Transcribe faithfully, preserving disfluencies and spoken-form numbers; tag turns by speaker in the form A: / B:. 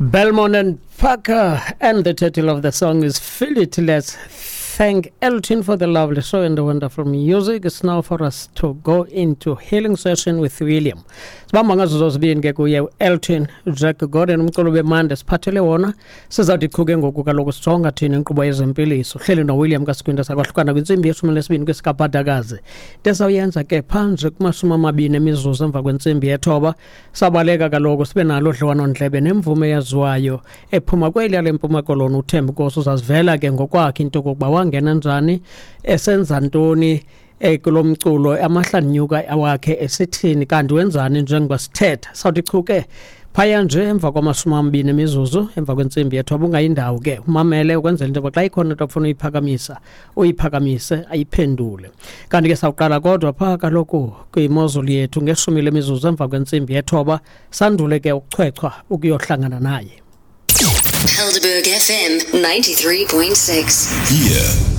A: Belmont and Parker, and the title of the song is Feel It. Let's thank Elton for the lovely show and the wonderful music. It's now for us to go into healing session with William. Sibamba ngazo zozibini ke kuye Elton Jack Gordon, umculo bemande siphathele wona. Sizawuthi chu ke ngoku kaloku sijonga thina inkqubo yezempiliso. Hleli noWilliam kaSikwinta, sakwahlukana kwintsimbi yeshumi nesibini kwesikabhadakazi. Into esawuyenza ke phanje kumashumi amabini emizuzu emva kwentsimbi yethoba, sabaleka kaloku sibe nalo udliwanondlebe nemvume eyaziwayo ephuma kweliya leMpuma Koloni, uThemba Nkosi. Uzazivela ke ngokwakhe into okokuba wangena njani, esenza ntoni kulo mculo, amahlanyuka awakhe esithini, kanti wenzani njengoba sithetha. Sawuthi chu ke phaya nje emva kwamashumi amabini emizuzu emva kwentsimbi yethoba. Ungayindawo ke, umamele ukwenzela into yoba xa ikhona into ofuna uyiphakamisa, uyiphakamise ayiphendule. Kanti ke sawuqala kodwa phaa kaloku kwimozulu yethu ngeshumi lemizuzu emva kwentsimbi yethoba, sandule ke ukuchwechwa ukuyohlangana naye.
B: Helderberg F M ninety-three point six.
C: Here